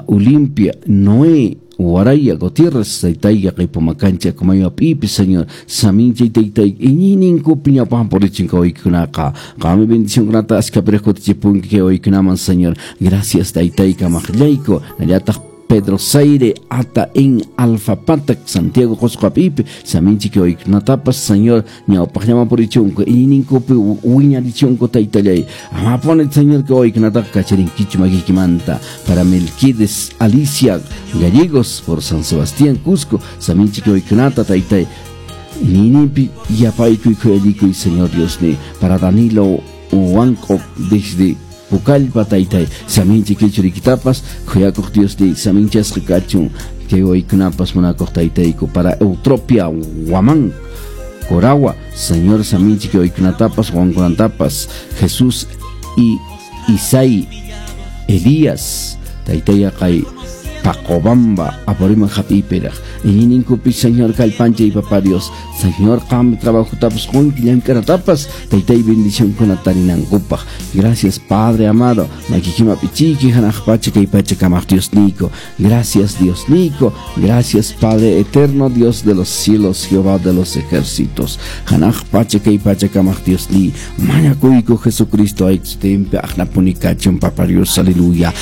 Olimpia, Noé, Waraya, Gutiérrez, taytayqa qipumakancha kumayo p'ipi, Señor, saminchay taytay iñiyninkupi ñawpaqman purichin kawaykunaqa. Qammi bendicionkunata askha kutichipunki kay waykunaman, Señor. Gracias, taytay kamaqllayku. Nallataq Pedro Zaire, Ata en Alfa Patak, Santiago Qosqo p'ipi, saminchi kay waykunatapas, Señor, ñawpaqllaman purichunku, iñiyninkupi wiñarichunku, taytallay. Amapuni, Señor, kay waykunataqa kacharinkichu makikimanta. Para Melquides, Alicia Gallegos, por San Sebastián, Cusco, saminchi kay waykunata, taytay. Iñiyninpi yapaykuy khuyallikuy, Señor Dios ni. Para Danilo Huanco, desde Pucallpa, taytay, saminchi kay churikitapas, khuyakuq Dios ni, saminchasqa kachun, kay waykunapas munakuq taytayku. Para Eutropia Guamán, Coragua, Señor, saminchi kay waykunatapas, wawankunatapas, Jesús y Isai Elías, taytayaqay Pacobamba, Apurímac hap'iypiraq. Iñiyninkupi, Señor, kallpanchay, papá Dios. Señor, qam trabajotapas qunki llank'anatapas, taytay bendicionkuna tarinankupaq. Gracias, Padre amado. Makikima pichiki hanaq pacha kay pacha kamaq Dios Nico. Gracias, Dios Nico. Gracias, Padre eterno, Dios de los cielos, Jehová de los ejércitos. Hanaq pacha kay pacha kamaq Dios ni. Mañakuyku Jesucristo ay sutinpi aqnapuni kachun, papá Dios. Aleluya.